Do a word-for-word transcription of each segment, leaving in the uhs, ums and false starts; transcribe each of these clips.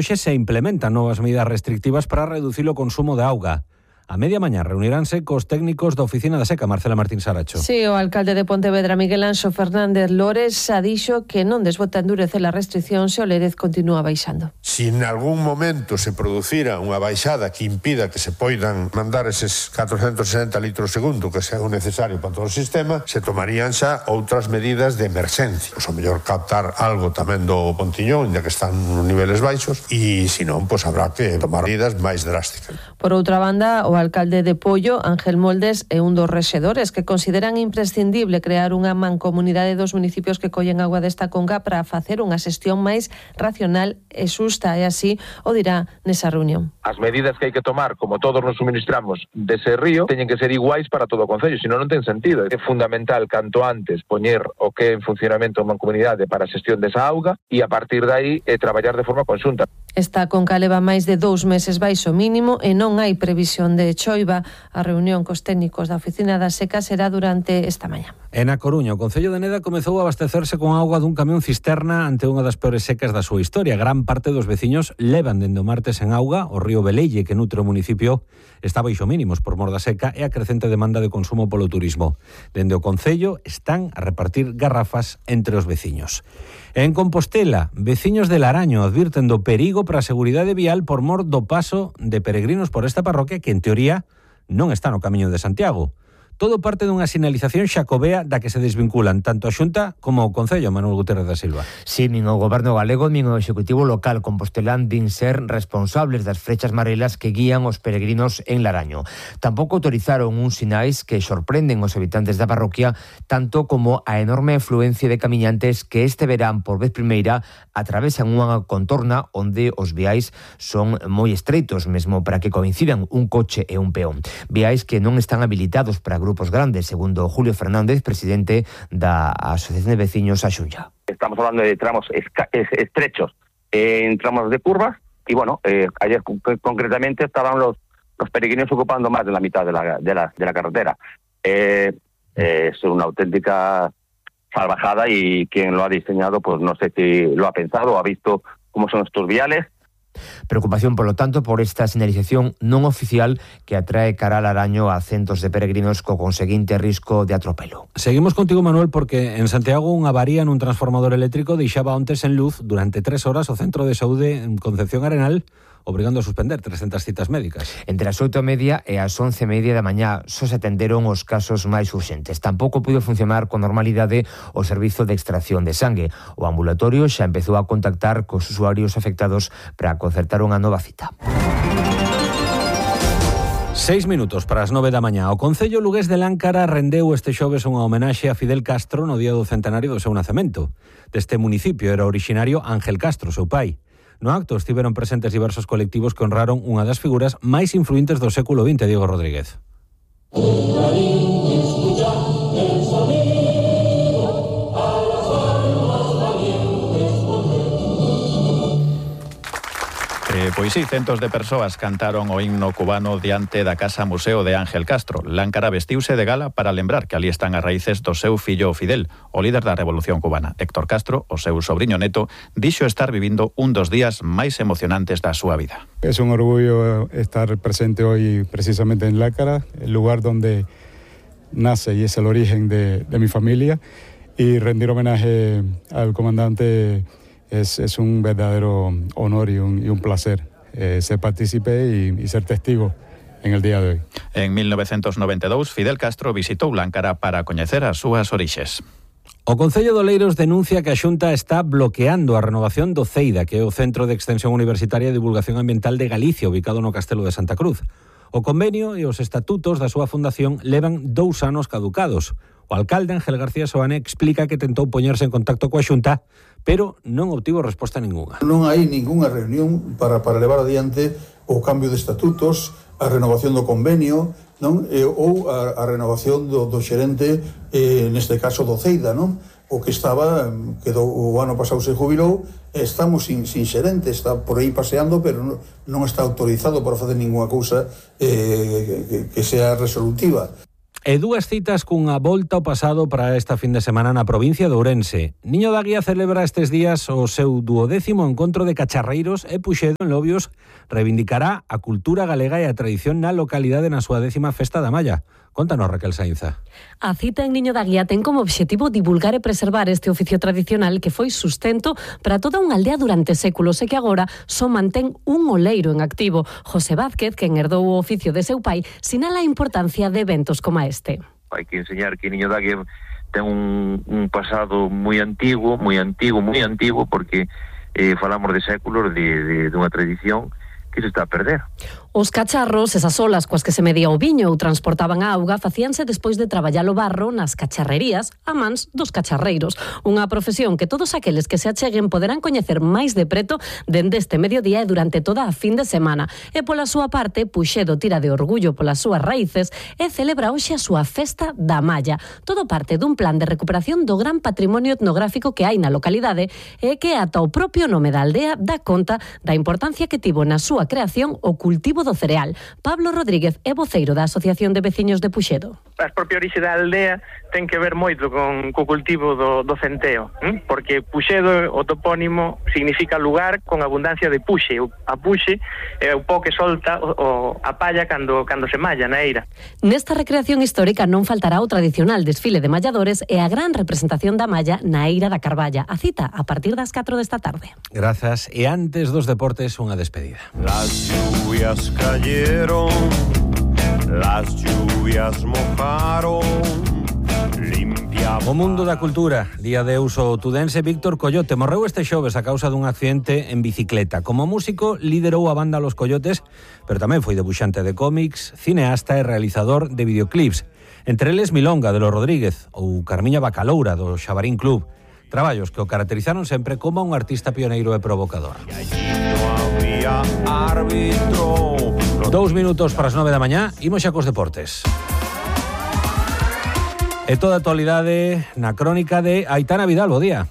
Hoxe se implementan novas medidas restrictivas para reducir o consumo de auga. A media mañá reuniránse cos técnicos da Oficina da Seca, Marcela Martín Saracho. Sí, o alcalde de Pontevedra, Miguel Anxo Fernández Lores, xa dixo que non desbota endurecer a restricción se o Lérez continúa baixando. Si en algún momento se producira unha baixada que impida que se poidan mandar eses catrocentos sesenta litros segundo que sea necesario para todo o sistema, se tomarían xa outras medidas de emerxencia. Pois o mellor captar algo tamén do Pontiñón, ya que están nos niveles baixos, e se non, pois habrá que tomar medidas máis drásticas. Por outra banda, o alcalde de Pollo, Ángel Moldes, é un dos rexedores que consideran imprescindible crear unha mancomunidade dos municipios que collen agua desta conca para facer unha xestión máis racional e xusta, e así o dirá nesa reunión. As medidas que hai que tomar, como todos nos suministramos dese río, teñen que ser iguais para todo o concello, senón non ten sentido. É fundamental canto antes poñer o que é en funcionamento unha comunidade para a xestión desa auga e a partir de aí eh, traballar de forma conxunta. Esta conca leva máis de dous meses baixo mínimo e non hai previsión de choiva. A reunión cos técnicos da Oficina da Seca será durante esta mañá. En A Coruña, o Concello de Neda comezou a abastecerse con auga dun camión cisterna ante unha das peores secas da súa historia. Gran parte dos veciños levan dende o martes en auga. O río Velelle, que nutre o municipio, está baixo mínimos por mor da seca e a crecente demanda de consumo polo turismo. Dende o Concello están a repartir garrafas entre os veciños. En Compostela, veciños de Laraño advirten do perigo para a seguridade vial por mor do paso de peregrinos por esta parroquia que, en teoría, non está no camiño de Santiago. Todo parte dunha sinalización xacobea da que se desvinculan tanto a Xunta como o Concello, Manuel Gutiérrez da Silva. Si, nin o Goberno galego nin o Executivo local compostelán din ser responsables das frechas marelas que guían os peregrinos en Laraño. Tampouco autorizaron uns sinais que sorprenden os habitantes da parroquia, tanto como a enorme afluencia de camiñantes que este verán por vez primeira atravesan unha contorna onde os viais son moi estreitos, mesmo para que coincidan un coche e un peón. Viais que non están habilitados para grupos grandes, segundo Julio Fernández, presidente da Asociación de Veciños A Xunlla. Estamos hablando de tramos estrechos, en tramos de curvas, y bueno, eh, ayer concretamente estaban los, los peregrinos ocupando más de la mitad de la, de la, de la carretera. Eh, eh, es una auténtica salvajada y quien lo ha diseñado, pues no sé si lo ha pensado o ha visto cómo son estos viales. Preocupación, por lo tanto, por esta señalización non oficial que atrae cara al Laraño a centos de peregrinos co conseguinte risco de atropelo. Seguimos contigo, Manuel, porque en Santiago unha avaría nun transformador eléctrico deixaba onte sen luz durante tres horas o Centro de Saúde en Concepción Arenal, obrigando a suspender trescentas citas médicas. Entre as oito e media e as once e media da mañá só se atenderon os casos máis urxentes. Tampouco pudo funcionar con normalidade o servizo de extracción de sangue. O ambulatorio xa empezou a contactar cos usuarios afectados para concertar unha nova cita. Seis minutos para as nove da mañá. O Concello lugués de Láncara rendeu este xoves unha homenaxe a Fidel Castro no día do centenario do seu nacemento. Deste municipio era originario Ángel Castro, seu pai. No acto estiveron presentes diversos colectivos que honraron unha das figuras máis influentes do século vinte, Diego Rodríguez. Eh, pois sí, centos de persoas cantaron o himno cubano diante da Casa Museo de Ángel Castro. Láncara vestiuse de gala para lembrar que ali están as raíces do seu fillo Fidel, o líder da Revolución Cubana. Héctor Castro, o seu sobriño neto, dixo estar vivindo un dos días máis emocionantes da súa vida. Es un orgullo estar presente hoy precisamente en Láncara, el lugar donde nace y es el origen de, de mi familia, y rendir homenaje al comandante Es, es un verdadero honor y un, y un placer eh, ser partícipe y, y ser testigo en el día de hoy. En mil novecentos noventa e dous, Fidel Castro visitou Láncara para coñecer as súas orixes. O Concello de Oleiros denuncia que a Xunta está bloqueando a renovación do CEIDA, que é o Centro de Extensión Universitaria e Divulgación Ambiental de Galicia, ubicado no Castelo de Santa Cruz. O convenio e os estatutos da súa fundación levan dous anos caducados. O alcalde Ángel García Soane explica que tentou poñerse en contacto coa Xunta, pero non obtivo resposta ninguna. Non hai ningunha reunión para, para levar adiante o cambio de estatutos, a renovación do convenio, non? E, ou a, a renovación do, do xerente, eh, neste caso do CEIDA, non? O que estaba, que do, o ano pasado se jubilou, estamos sin, sin xerente, está por aí paseando, pero non, non está autorizado para facer ninguna cousa eh, que, que sea resolutiva. E dúas citas cunha volta ao pasado para esta fin de semana na provincia de Ourense. Niño da Guía celebra estes días o seu duodécimo encontro de cacharreiros e Puxedo en Lobios reivindicará a cultura galega e a tradición na localidade na súa décima festa da Malla. Contanos, Raquel Sainza. A cita en Niño da Guía ten como obxectivo divulgar e preservar este oficio tradicional que foi sustento para toda unha aldea durante séculos e que agora só mantén un oleiro en activo. José Vázquez, quen herdou o oficio de seu pai, sinala a importancia de eventos como este. Hai que enseñar que Niño da Guía ten un, un pasado moi antigo, moi antigo, moi antigo, porque eh, falamos de séculos de, de, de unha tradición que se está a perder. Os cacharros, esas olas coas que se medía o viño ou transportaban a auga, facíanse despois de traballar o barro nas cacharrerías a mans dos cacharreiros. Unha profesión que todos aqueles que se acheguen poderán coñecer máis de preto dende este mediodía e durante toda a fin de semana. E pola súa parte, Puxedo tira de orgullo polas súas raíces e celebra hoxe a súa festa da Malla. Todo parte dun plan de recuperación do gran patrimonio etnográfico que hai na localidade e que ata o propio nome da aldea dá conta da importancia que tivo na súa creación o cultivo do cereal. Pablo Rodríguez é voceiro da Asociación de Veciños de Puxedo. A propia orixe da aldea ten que ver moito con co cultivo do, do centeo, ¿eh? Porque Puxedo, o topónimo, significa lugar con abundancia de puxe. A puxe é o pó que solta o, o, a palla cando, cando se malla na eira. Nesta recreación histórica non faltará o tradicional desfile de malladores e a gran representación da malla na eira da Carballa. A cita a partir das catro desta tarde. Grazas. E antes dos deportes, unha despedida. Las lluvias cayeron, las lluvias mojaron, limpia... O mundo da cultura, día de uso tudense. Víctor Coyote morreu este xoves a causa dun accidente en bicicleta. Como músico liderou a banda Los Coyotes, pero tamén foi debuxante de cómics, cineasta e realizador de videoclips. Entre eles Milonga, de Los Rodríguez, ou Carmiña Bacaloura, do Xabarín Club. Traballos que o caracterizaron sempre como un artista pioneiro e provocador. Dous minutos para as nove da mañá, imos xa cos deportes. E toda a actualidade na crónica de Aitana Vidal. Bo día.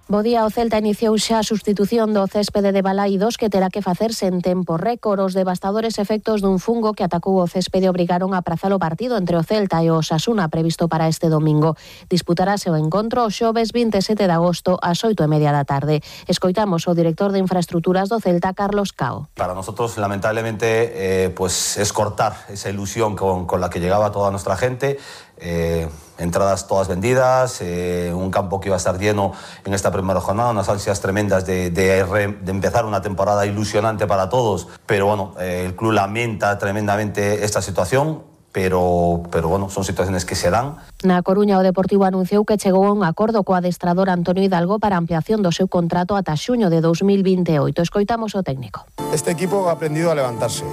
Bo día, o Celta iniciou xa a sustitución do céspede de Balaidos que terá que facerse en tempo récord. Os devastadores efectos dun fungo que atacou o céspede obrigaron a aprazar o partido entre o Celta e o Osasuna previsto para este domingo. Disputarase o encontro o xoves vinte e sete de agosto ás oito e media da tarde. Escoitamos o director de infraestructuras do Celta, Carlos Cao. Para nosotros, lamentablemente, eh, pues es cortar esa ilusión con, con la que llegaba toda nuestra gente. Eh, entradas todas vendidas, eh, un campo que iba a estar lleno en esta primera jornada, unas ansias tremendas de, de, de empezar una temporada ilusionante para todos, pero bueno, eh, el club lamenta tremendamente esta situación, pero, pero bueno, son situaciones que se dan. Na Coruña, o Deportivo anunciou que chegou a un acordo co adestrador Antonio Hidalgo para a ampliación do seu contrato ata xuño de dos mil vinte e oito. Escoitamos o técnico. Este equipo ha aprendido a levantarse,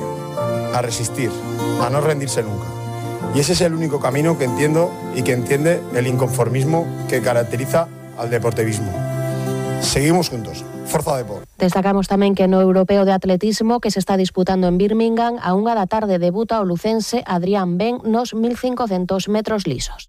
a resistir, a no rendirse nunca. Y ese es el único camino que entiendo y que entiende el inconformismo que caracteriza al deportivismo. Seguimos juntos. Forza Depor. Destacamos tamén que no Europeo de Atletismo que se está disputando en Birmingham, a unha da tarde debuta o lucense Adrián Ben nos mil cincocentos metros lisos.